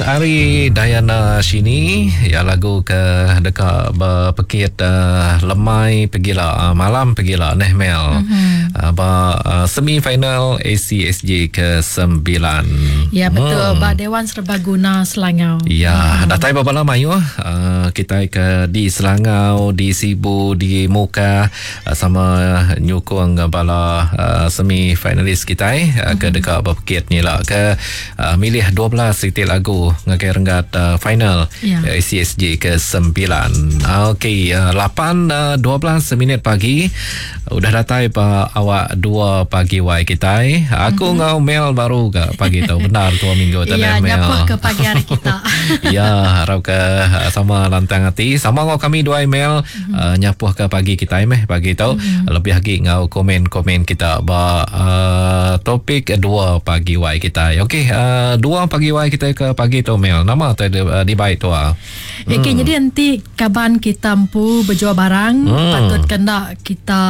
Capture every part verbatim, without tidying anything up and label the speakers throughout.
Speaker 1: Ari Diana Shini ya lagu ke deka berpekit uh, lemai pegila uh, malam pegila neh Mel. Mm-hmm. Uh, ba uh, semi final A C S J ke sembilan.
Speaker 2: Ya betul hmm. Ba Dewan Serbaguna Selangau.
Speaker 1: Ya hmm. Datai babala mayuh uh, kita ke di Selangau, di Sibu, di Muka uh, sama nyukung bala uh, semi finalis kita uh, ke deka berpekit ni lah ke uh, milih dua belas titik lagu ngagai renggat uh, final ya. A C S J ke sembilan. Okey, uh, lapan dua belas minit pagi udah datai pa awak dua pagi wai kita. Aku mm-hmm. ngau Mel baru ke pagi tu. Benar tua minggu tadi
Speaker 2: ya,
Speaker 1: Mel.
Speaker 2: Ya, nyapuh ke pagi hari kita.
Speaker 1: Ya, harap ke sama lantang hati. Sama ngau kami dua Mel mm-hmm. uh, nyapuh ke pagi kita meh pagi tu. Mm-hmm. Lebih lagi ngau komen-komen kita ba uh, topik dua pagi wai kita. Okey, uh, dua pagi wai kita ke pagi tu Mel. Nama tu uh, di baik tu ah.
Speaker 2: Hmm. Okey, jadi nanti kaban kita empu berjual barang hmm. patut kena kita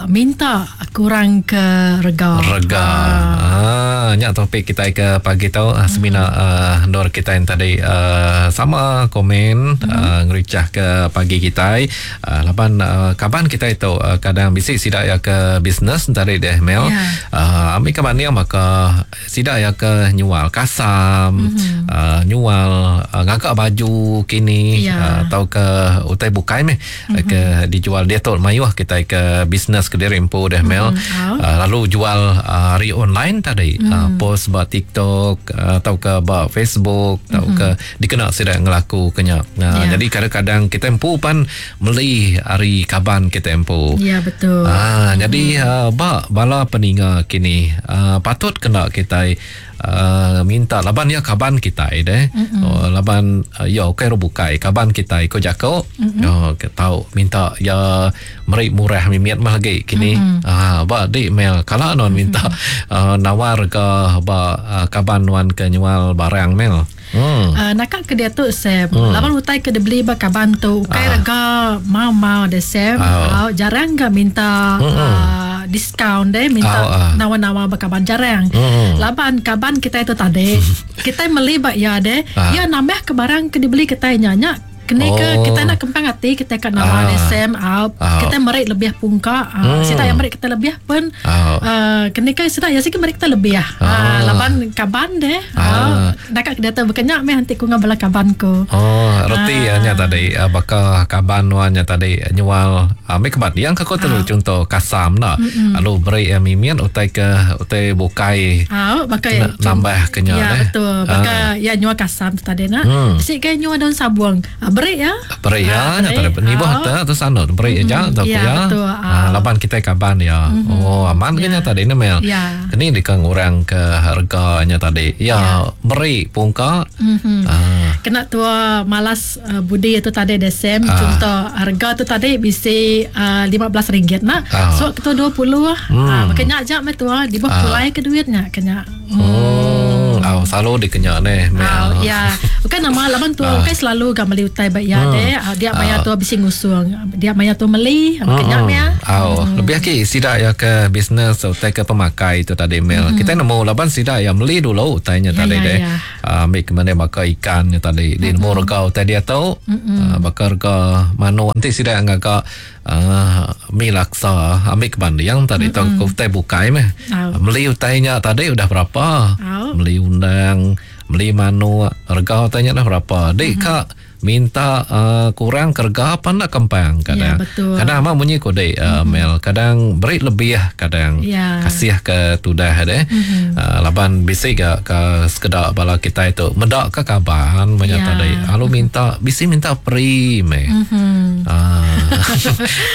Speaker 2: minta kurang ke rega.
Speaker 1: Rega. Ah, ha, nyak topik kita ke pagi tu hmm. semina uh, ndor kita yang tadi uh, sama komen hmm. uh, ngericah ke pagi kita. Uh, laban uh, kaban kita itu uh, kadang bisik sidak ya ke bisnes tadi deh Mel. Yeah. Uh, ambil kaban ni maka sidak ya ke nyual kasam, hmm. uh, nyual uh, ngagak baju kini yeah. uh, atau ke utai bukai meh mm-hmm. ke dijual dia tu mayuh kita ke bisnes ke diri empu deh Mel. Mm-hmm. Uh, lalu jual uh, hari online tadi mm. uh, post ba TikTok uh, atau ke ba Facebook atau mm-hmm. ke dikena sedang ngelaku kenya. Uh, yeah. Jadi kadang-kadang kita empu pan meli hari kaban kita empu.
Speaker 2: Ya yeah, betul.
Speaker 1: Ah uh, jadi uh, ba bala peninga kini uh, patut kena kita Uh, minta laban ya kaban kita deh. Mm-hmm. Oh, laban uh, ya okey ro bukai kaban kita ko jako. Mm-hmm. Oh ke tau minta ya meri murah mimiat mah lagi kini. Mm-hmm. Ah ba di Mel kala non minta mm-hmm. uh, nawar ke ba uh, kaban wan ke nyual barang Mel.
Speaker 2: Hmm. Uh, nakak ke dia tu Sam. Hmm. Laban utai ke dia beli ba kaban tu ukai ah. rega mau-mau deh Sam. Oh. Uh, jarang ke minta hmm. uh, diskaun deh minta oh, uh. nawar-nawar ba kaban jarang. Hmm. Laban kaban kita itu tadi kita beli ba ya deh. Ah. Ya nambah ke barang ke dibeli kita nyanyak kini oh. ke kita nak kempang hati kita kat nama ah. S M out oh. kita merik lebih pungka ah. hmm. Sida yang merik kita lebih pun oh. uh, kini ke sida ya sikit merik kita lebih ah. ah. Laban kaban deh ah. Dekat dia tu berkenyak meh nanti ku ngabala kaban ku.
Speaker 1: Oh reti ah. Nya tadi baka kaban nya tadi nyual ambil kebat yang ke tu ah. Contoh kasam nak lalu beri mimian utai ke utai bukai
Speaker 2: ah bakai
Speaker 1: nambah kenya
Speaker 2: ya, betul baka ya nyual kasam tu tadi nak hmm. Sik ke nyual daun sabuang beri ya.
Speaker 1: Beri ya, ha, tak ada ni bah tak tu sana beri aja tak ya. Ha, laban kita kaban ya. Mm-hmm. Oh, aman kena ya. Tadi ni Mel.
Speaker 2: Ya.
Speaker 1: Kini dikang orang ke harganya tadi. Ya, ya. Beri pungka.
Speaker 2: Mm-hmm. Ha. Kena tua malas uh, budi itu tadi desem ha. Contoh harga tu tadi bisi uh, lima belas ringgit nak. Ha. So ketua dua puluh. Hmm. Ha, makanya ajak meh tua di bawah pulai ke duitnya kena.
Speaker 1: Hmm. Oh, oh selalu dikenya ni Mel.
Speaker 2: Oh, ya. Bukan nama laban tua bukan selalu gak beli utai baik ya hmm. deh. Dia maya tu habis ngusung. Dia maya tu meli, kenyang ya.
Speaker 1: Oh, hmm. Lebih lagi sidak ya ke bisnes utai ke pemakai itu tadi Mel. Hmm. Kita nemu laban sidak ya meli dulu utainya ya, tadi ya, deh. Ya. Uh, ambil ke mana bakar ikannya tadi. Di nemu rega utai dia tu. Hmm. Uh, bakar rega manuk nanti sidak ngagak uh, mi laksa ambil ke banding tadi tu hmm. Utai bukai meh. Oh. Meli utainya tadi udah berapa?
Speaker 2: Oh.
Speaker 1: Meli undang, beli manuk, rega utainya dah berapa? Dik mm-hmm. kak minta uh, kurang kerga apa nak kempang kadang.
Speaker 2: Ya, betul.
Speaker 1: Kadang amat bunyi kodek uh, mm-hmm. Mel, kadang beri lebih kadang
Speaker 2: ya.
Speaker 1: Kasih ke tudah deh.
Speaker 2: Mm-hmm.
Speaker 1: Uh, laban bisi ke ke sekedak bala kita itu medak ke kaban banyak
Speaker 2: ya.
Speaker 1: Tadi. Lalu minta bisi minta peri meh.
Speaker 2: Mm-hmm.
Speaker 1: Uh,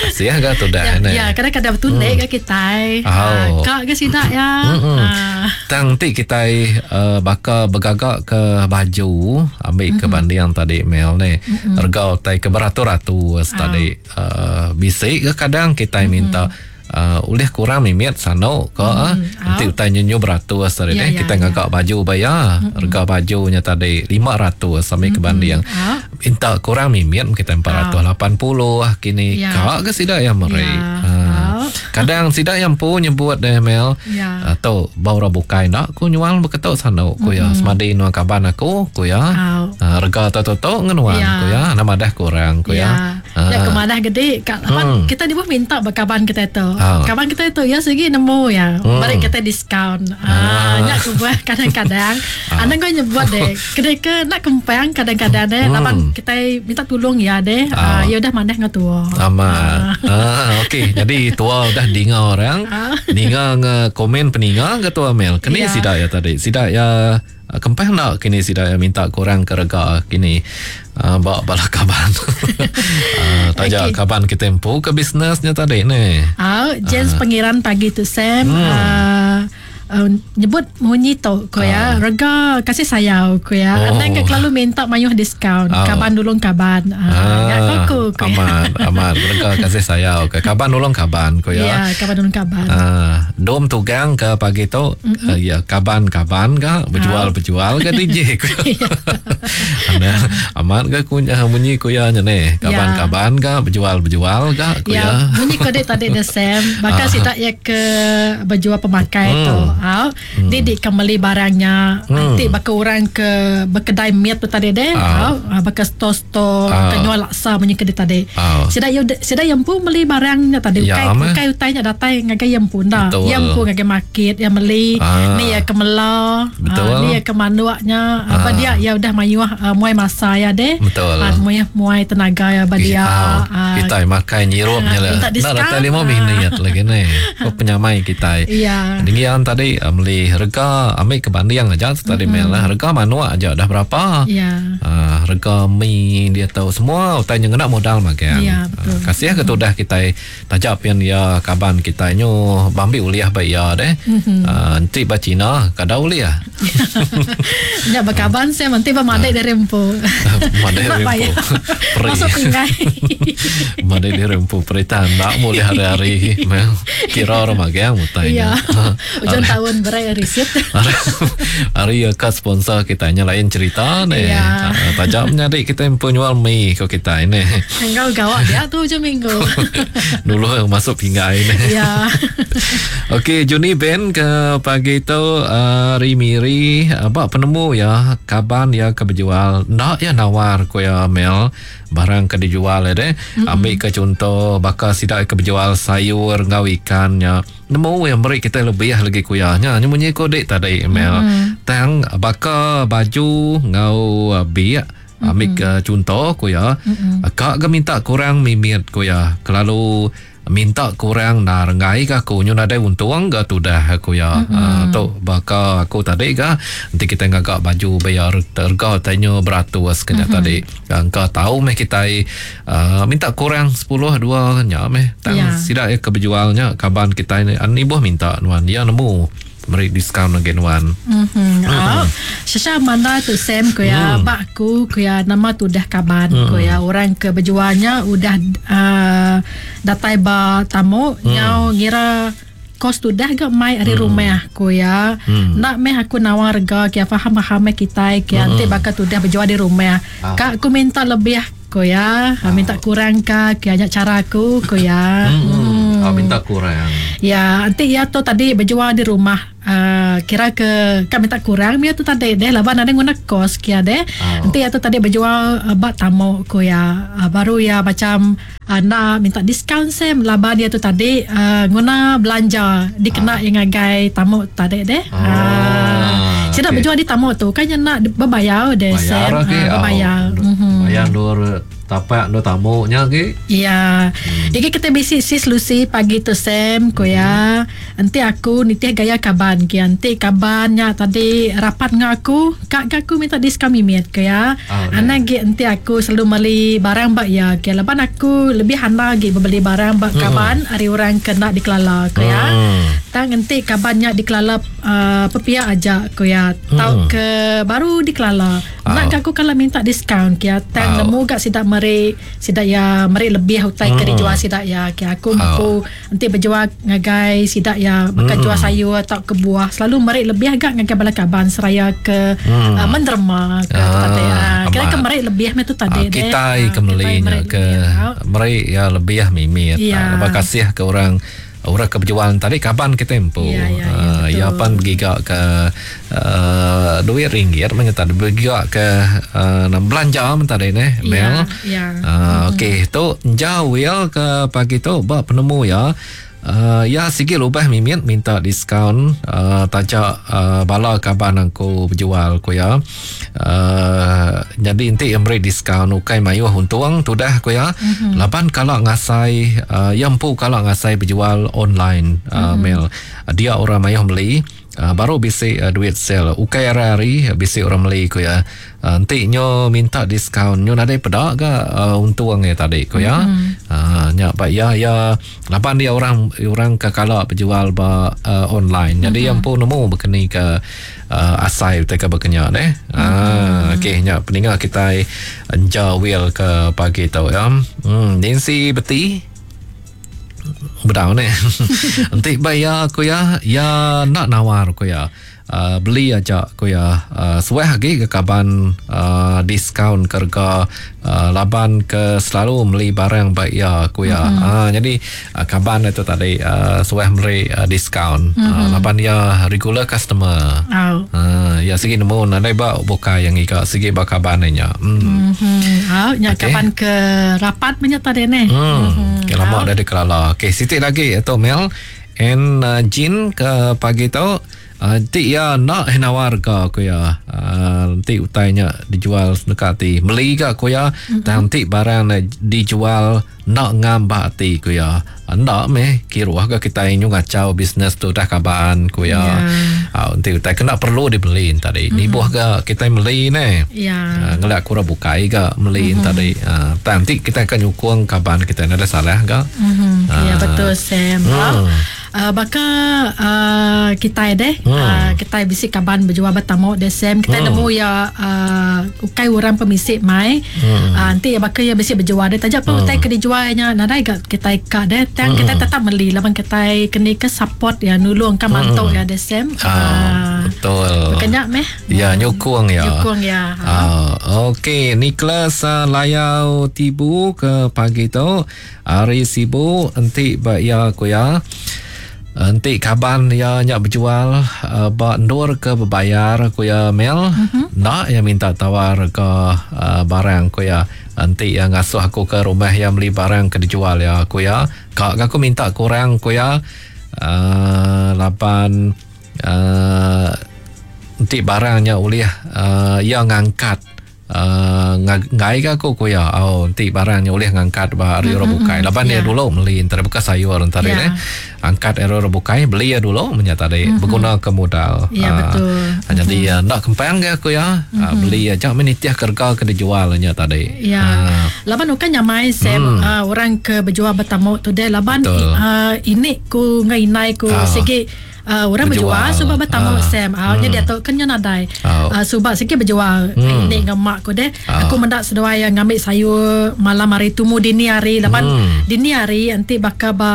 Speaker 1: kasih ke tudah
Speaker 2: ya,
Speaker 1: ne.
Speaker 2: Ya, kadang-kadang betul mm. ke kita.
Speaker 1: Oh.
Speaker 2: Uh, kak ke sidak ya.
Speaker 1: Mm-hmm.
Speaker 2: Uh.
Speaker 1: Tang ti kita uh, bakal bergagak ke baju ambil
Speaker 2: mm-hmm.
Speaker 1: ke banding tadi Mel ni.
Speaker 2: Mm-hmm.
Speaker 1: Harga utai ke beratus-ratus
Speaker 2: oh.
Speaker 1: tadi uh, bisik ke kadang kita
Speaker 2: mm-hmm.
Speaker 1: minta uh, ulih kurang mimit sano ke
Speaker 2: mm-hmm.
Speaker 1: nanti
Speaker 2: oh.
Speaker 1: utai nyenyu beratus tadi
Speaker 2: ya,
Speaker 1: deh
Speaker 2: ya,
Speaker 1: kita
Speaker 2: ya.
Speaker 1: ngagak baju bayar
Speaker 2: mm-hmm.
Speaker 1: harga bajunya tadi lima ratus sampai
Speaker 2: mm-hmm.
Speaker 1: ke banding
Speaker 2: oh.
Speaker 1: minta kurang mimit kita empat ratus lapan puluh
Speaker 2: oh.
Speaker 1: Kini
Speaker 2: ya.
Speaker 1: kak ke sidak yang meri
Speaker 2: ya.
Speaker 1: uh,
Speaker 2: Oh.
Speaker 1: Kadang sidak yang pun nyebut deh Mel
Speaker 2: ya.
Speaker 1: Uh, tu bau orang bukai nak ku nyual beketuk sanu ku ya. Semadi nuan kaban aku ku ya. Uh, rega tu tu tu ngenuan ku ya. Nama dah kurang ku ya.
Speaker 2: Ya kemadah gede kat hmm. kita ni pun minta berkaban kita tu. Oh. Kaban kita tu ya segi nemu ya. Hmm. Balik kita diskaun. Ah, nyak ku buat kadang-kadang. Ah. Anak kau nyebut deh. Kedai ke nak kempang kadang-kadang deh. Hmm. Laban kita minta tolong ya deh. Oh. Ah, ya udah mandah ngau tua.
Speaker 1: Amat. Ah, ah okey. Jadi tua udah dinga orang. Ah. Ninga nge komen peninga ke tua Mel. Kini ya. Sidak ya tadi. Sidak ya kempang nak kini sidak ya minta kurang ke rega kini. Uh, bawa bala kaban. uh, taja okay. Kaban kita empu ke bisnesnya tadi ni.
Speaker 2: Ah, uh, James uh. Pengiran pagi tu Sam. Hmm. Uh, Uh, nyebut munyi tu ko ya, uh. rega kasih sayau ko ya. Oh. Anang ke selalu minta mayuh diskaun. Oh. Kaban dulung kaban. Uh, ah, ya aku ko ya.
Speaker 1: Amat, amat rega kasih sayau ke kaban dulung kaban ko ya.
Speaker 2: Ya, kaban dulung kaban.
Speaker 1: Uh, dom tugang ke pagi tu mm-hmm. uh, ya kaban-kaban ke berjual-berjual ke D J ko. Ana amat ke ku munyi ko ya ni. Kaban-kaban ke berjual-berjual ke ko ya.
Speaker 2: Munyi ko dek tadi de Sam, bakal sidak ya ke berjual pemakai tu. Au, hmm. Didik ke beli barangnya. Hmm. Nanti bakal orang ke berkedai miat tu tadi deh. Au, bakal store-store ke jual laksa punya kedai tadi. Sida yo sida yang pun beli barangnya tadi. Ukai ukai utainya datai ngagai yang pun dah. Yang pun ngagai market yang beli. Ni ya ke mela. Ni ya ke manuaknya. Apa dia ya udah mayuh muai masa ya deh.
Speaker 1: Betul.
Speaker 2: Muai muai tenaga ya ba dia.
Speaker 1: Kita makan nyirupnya lah. Nak datai lima minit lagi ni. Oh penyamai kita.
Speaker 2: Ya.
Speaker 1: Dengan tadi beli rega ambil kebanding aja tadi mm-hmm. Mel lah rega manua aja dah berapa.
Speaker 2: Ya.
Speaker 1: Uh, rega mi dia tahu semua utainya kena modal makan.
Speaker 2: Ya, betul.
Speaker 1: Uh, kasih ke tu dah kita tajak pian ya kaban kita nyo bambi uliah baik ya deh.
Speaker 2: Mm-hmm.
Speaker 1: Uh, nanti ba Cina kada uliah.
Speaker 2: Nya bakaban saya nanti ba madai dari empu.
Speaker 1: Madai dari empu.
Speaker 2: Masuk pinggai.
Speaker 1: Madai dari empu perita ndak boleh hari-hari. Mel kira orang magang utainya.
Speaker 2: Ya. Ujung tahun berai riset.
Speaker 1: Hari ya kat sponsor kita nya lain cerita ni.
Speaker 2: Ya.
Speaker 1: Tajam nyari kita yang penyual mi ko kita ini.
Speaker 2: Engkau gawat dia tu ujung minggu.
Speaker 1: Dulu masuk pinggai ni.
Speaker 2: Ya.
Speaker 1: Okey, Juni Ben ke pagi tu uh, Rimiri apa penemu ya kaban ya ke berjual nak ya nawar ko ya Mel barang ke dijual ya deh.
Speaker 2: Mm-hmm.
Speaker 1: Ambil ke contoh bakal sidak ke berjual sayur ngau ikannya. Nemu yang beri kita lebih lagi kuyahnya. Nyemunyi kodek tadi Mel.
Speaker 2: Mm-hmm.
Speaker 1: Tang bakal baju ngau biak ambil ke contoh kuya.
Speaker 2: Mm-hmm.
Speaker 1: Kak ke minta kurang mimit kuya. Kelalu minta kurang na rengai ke aku nyu nadai untung ke tu dah aku ya.
Speaker 2: Mm-hmm.
Speaker 1: Uh, tu bakal aku tadi ke nanti kita ngagak baju bayar harga tanyo beratus kena
Speaker 2: mm-hmm.
Speaker 1: tadi. Engkau tahu meh kita uh, minta kurang sepuluh dua nya meh. Tang
Speaker 2: yeah.
Speaker 1: sidak ya keberjualnya kaban kita ni ani buah minta nuan dia nemu beri diskaun lagi nuan.
Speaker 2: Mhm. Oh, Sasha mana tu Sam ko ya
Speaker 1: mm.
Speaker 2: bak aku ko ya nama tu dah kaban
Speaker 1: mm.
Speaker 2: ko ya orang ke berjualnya udah uh, datai ba tamu
Speaker 1: mm.
Speaker 2: nyau ngira kos tu dah gak mai ari
Speaker 1: mm.
Speaker 2: rumah ko ya.
Speaker 1: Mm.
Speaker 2: Nak meh aku nawar rega kia faham-faham kita kia
Speaker 1: mm.
Speaker 2: nanti bakal tu dah berjual di rumah.
Speaker 1: Ah.
Speaker 2: Kak aku minta lebih ko ya,
Speaker 1: ah.
Speaker 2: minta kurang ka kia nyak cara aku ko ya.
Speaker 1: Mm.
Speaker 2: Hmm.
Speaker 1: Oh, minta kurang.
Speaker 2: Ya, nanti ya tu tadi berjual di rumah. Uh, kira ke kak minta kurang dia tu tadi deh laban ada guna kos kia deh.
Speaker 1: Oh.
Speaker 2: Nanti ya tu tadi berjual uh, bak tamu ko ya. Uh, baru ya macam uh, nak minta diskaun sem laban dia tu tadi uh, guna belanja dikena
Speaker 1: ah.
Speaker 2: yang ngagai tamu tadi deh.
Speaker 1: Oh.
Speaker 2: Uh, saya nak
Speaker 1: okay.
Speaker 2: berjual di tamu tu kan yang nak berbayar deh
Speaker 1: bayar
Speaker 2: sem.
Speaker 1: Okay.
Speaker 2: Uh, berbayar.
Speaker 1: Oh.
Speaker 2: Mm-hmm.
Speaker 1: Bayar dua tapak do tamunya ke?
Speaker 2: Ya.
Speaker 1: Hmm.
Speaker 2: Jadi kita bisi sis Lucy pagi tu Sam ko ya. Nanti aku nitih gaya kaban ke nanti kabannya tadi rapat dengan aku, kak aku minta diskaun mimit ke ya.
Speaker 1: Oh,
Speaker 2: Anak ge nanti aku selalu beli barang bak ya ke laban aku lebih hana ge beli barang bak
Speaker 1: Hmm.
Speaker 2: kaban hari orang kena dikelala ko ya.
Speaker 1: Hmm.
Speaker 2: Tang nanti kabannya dikelala uh, pepia aja ko ya. Tau
Speaker 1: Hmm.
Speaker 2: ke baru dikelala.
Speaker 1: Oh.
Speaker 2: Nak aku kalau minta diskaun ke ya. Tang
Speaker 1: Oh.
Speaker 2: nemu gak sidak meri sidak ya meri lebih utai ke
Speaker 1: Hmm.
Speaker 2: dijual sidak ya ke aku
Speaker 1: Oh.
Speaker 2: mampu nanti berjual ngagai sidak ya bakal
Speaker 1: Hmm.
Speaker 2: jual sayur atau ke buah selalu meri lebih agak ngagai bala kaban seraya ke
Speaker 1: Hmm.
Speaker 2: uh, menderma ke
Speaker 1: Ah,
Speaker 2: tadi ah kira
Speaker 1: amat.
Speaker 2: ke meri lebih meh tu tadi
Speaker 1: Ah,
Speaker 2: deh.
Speaker 1: kita
Speaker 2: Ah,
Speaker 1: ke melinya
Speaker 2: meri
Speaker 1: ke
Speaker 2: lebih.
Speaker 1: meri ya lebih mimit.
Speaker 2: Ya.
Speaker 1: Ah, terima kasih ke orang orang ke berjual tadi kaban kita empu.
Speaker 2: Ya, ya, ya,
Speaker 1: uh, ya pan bergiga ke uh, duit ringgit menyata bergiga ke uh, belanja tadi ne Mel.
Speaker 2: Ya, ya.
Speaker 1: Uh, okey tu jauh ya ke pagi tu ba penemu ya. Uh, ya sikit lubah mimit minta diskaun uh, tajak uh, bala kaban aku berjual ku ya. Uh, jadi inti yang beri diskaun ukai mayuh untung tudah ku ya. Mm-hmm. Laban kalau ngasai uh, ya empu kalau ngasai berjual online uh, mm-hmm. Mel. Dia orang mayuh beli uh, baru bisi uh, duit sel ukai hari-hari bisi orang beli ku ya. Uh, enti nyo minta diskaun nyo nadai peda ke uh, untung ya tadi ku ya. Mm-hmm. Uh, nya pak ya ya laban dia orang orang ke kala berjual ba uh, online. Jadi mm-hmm. yang pun nemu berkeni ke uh, asai utai ke berkenya deh. Mm-hmm. Ah okey nya peninga kita enjawil ke pagi tu ya. Hmm Nancy Beti bedau ni. Enti bayar ku ya ya nak nawar ku ya. Uh, beli aja ku ya uh, suah lagi ke kaban uh, diskaun kerga uh, laban ke selalu beli barang baik ya ku ya. Mm-hmm. Uh, jadi uh, kaban itu tadi uh, suah beri uh, diskaun. Mm-hmm. Uh, laban ya regular customer.
Speaker 2: Oh.
Speaker 1: Uh, ya segi nemu nadai ba buka yang ika segi ba kaban nya. Mm.
Speaker 2: Mm-hmm. Oh, nya
Speaker 1: okay.
Speaker 2: Kaban ke rapat punya tadi ne.
Speaker 1: Hmm. Mm-hmm. Ke lama oh. dah dikelala. Okey, sitik lagi atau Mel and uh, Jin ke pagi tu. Nanti uh, ya nak nawar ke aku ya. Nanti uh, utainya dijual dekat ti. Beli ke aku ya. Mm-hmm. Nanti barang dijual nak ngambak ti aku ya. Ndak meh kiruah ke kita inyu ngacau bisnes tu dah kaban aku ya.
Speaker 2: Yeah.
Speaker 1: Uh, nanti utai kena perlu dibeli tadi.
Speaker 2: Mm-hmm.
Speaker 1: Nibuh ke kita beli ne.
Speaker 2: Yeah.
Speaker 1: Uh, ngelak kurang bukai ke beli
Speaker 2: mm-hmm.
Speaker 1: tadi. Uh, nanti kita akan nyukung kaban kita ada salah ke.
Speaker 2: Mm-hmm.
Speaker 1: Uh,
Speaker 2: ya betul Sam.
Speaker 1: Mm.
Speaker 2: Uh, baka uh, kita deh
Speaker 1: hmm.
Speaker 2: uh, kita bisi kaban berjual bertamu deh Sam kita
Speaker 1: hmm.
Speaker 2: nemu ya uh, ukai orang pemisik mai
Speaker 1: hmm.
Speaker 2: uh, nanti ya baka ya bisi berjual deh tajak pun
Speaker 1: hmm.
Speaker 2: utai ke dijualnya nadai gak kita ikat deh tang
Speaker 1: hmm.
Speaker 2: kita tetap beli laban kita kena ke support ya nulung kan mantok
Speaker 1: hmm.
Speaker 2: ya deh Sam.
Speaker 1: Ah,
Speaker 2: uh,
Speaker 1: betul.
Speaker 2: Bukannya meh
Speaker 1: ya nyukung ya.
Speaker 2: Nyukung ya.
Speaker 1: Uh, okey Nicholas uh, Layau Tibu ke pagi tu hari Sibu enti ba ya ku ya. Enti kaban ya nyak berjual uh, ba ndur ke berbayar ku ya Mel.
Speaker 2: Mm-hmm.
Speaker 1: Nak ya minta tawar ke uh, barang ku ya. Enti yang ngasuh aku ke rumah yang beli barang ke dijual ya ku ya. Kak aku minta kurang ku ya. Uh, lapan uh, enti barangnya ulih uh, ya ngangkat Uh, ngai ke aku ku ya. Oh, nanti barangnya boleh ngangkat ba hari orang bukai. Laban
Speaker 2: yeah.
Speaker 1: dia dulu beli antara bekas sayur antara
Speaker 2: yeah.
Speaker 1: ne. Angkat error bukai beli ya dulu menyata tadi
Speaker 2: mm-hmm.
Speaker 1: berguna ke modal.
Speaker 2: Ya yeah,
Speaker 1: uh,
Speaker 2: betul.
Speaker 1: Jadi mm-hmm. uh, nak kempang ke aku ya.
Speaker 2: Mm-hmm.
Speaker 1: Uh, beli aja menitiah kerga ke dijual nya tadi.
Speaker 2: Ya.
Speaker 1: Uh.
Speaker 2: Laban bukan nyamai Sam
Speaker 1: mm.
Speaker 2: uh, orang ke berjual bertamu tu deh laban
Speaker 1: uh,
Speaker 2: ini ku ngai ku
Speaker 1: uh.
Speaker 2: segi Uh, orang berjual sebab bertamu
Speaker 1: uh,
Speaker 2: Sam. Ah uh,
Speaker 1: hmm.
Speaker 2: dia tu kena nadai.
Speaker 1: Oh.
Speaker 2: Uh, sebab sikit berjual
Speaker 1: hmm.
Speaker 2: ini dengan mak aku deh.
Speaker 1: Uh.
Speaker 2: Aku mendak seduai yang ngambil sayur malam hari tumu dini hari laban
Speaker 1: hmm.
Speaker 2: dini hari nanti bakal ba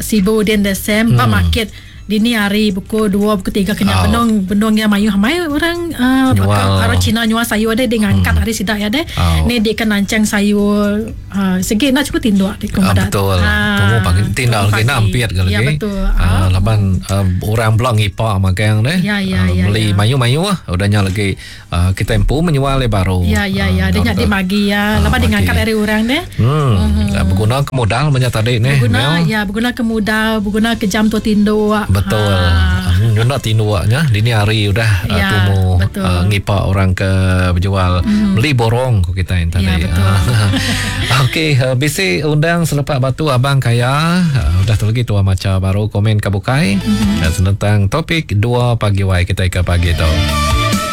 Speaker 2: Sibu den de Sam
Speaker 1: hmm.
Speaker 2: ba market dini hari pukul dua pukul tiga kena
Speaker 1: oh.
Speaker 2: benung benung yang mayu hamai orang uh, bakal orang Cina nyual sayur deh dia ngangkat
Speaker 1: hmm.
Speaker 2: hari sidak ya deh.
Speaker 1: Oh.
Speaker 2: Ni dia kan nancang sayur uh, sikit nak cukup tinduk di
Speaker 1: ah, betul.
Speaker 2: Ah,
Speaker 1: tunggu pagi tindak lagi nak ampiat ke lagi.
Speaker 2: Ya betul.
Speaker 1: Ah, laban uh, orang belak ngipak makan deh.
Speaker 2: Ya ya
Speaker 1: uh,
Speaker 2: ya.
Speaker 1: Beli
Speaker 2: ya.
Speaker 1: mayu-mayu ah udahnya lagi uh, kita empu menyual le baru.
Speaker 2: Ya ya ya dia
Speaker 1: uh,
Speaker 2: nak dimagi ya.
Speaker 1: Uh,
Speaker 2: Laban dia ngangkat dari orang deh.
Speaker 1: Hmm.
Speaker 2: Hmm.
Speaker 1: Berguna ke modal banyak tadi ni.
Speaker 2: Berguna ya berguna ke modal, berguna ke jam tu tinduk.
Speaker 1: Betul.
Speaker 2: Ha.
Speaker 1: Nak tinduaknya dini hari udah
Speaker 2: ya,
Speaker 1: uh, tumu uh, ngipak orang ke berjual
Speaker 2: mm.
Speaker 1: beli borong ko kita yang tadi.
Speaker 2: Ya, betul.
Speaker 1: Okey, uh, bisi undang selepak batu abang kaya. Uh, udah tu lagi tua maca baru komen ke bukai
Speaker 2: mm-hmm.
Speaker 1: uh, tentang topik dua pagi wai kita ke pagi tu.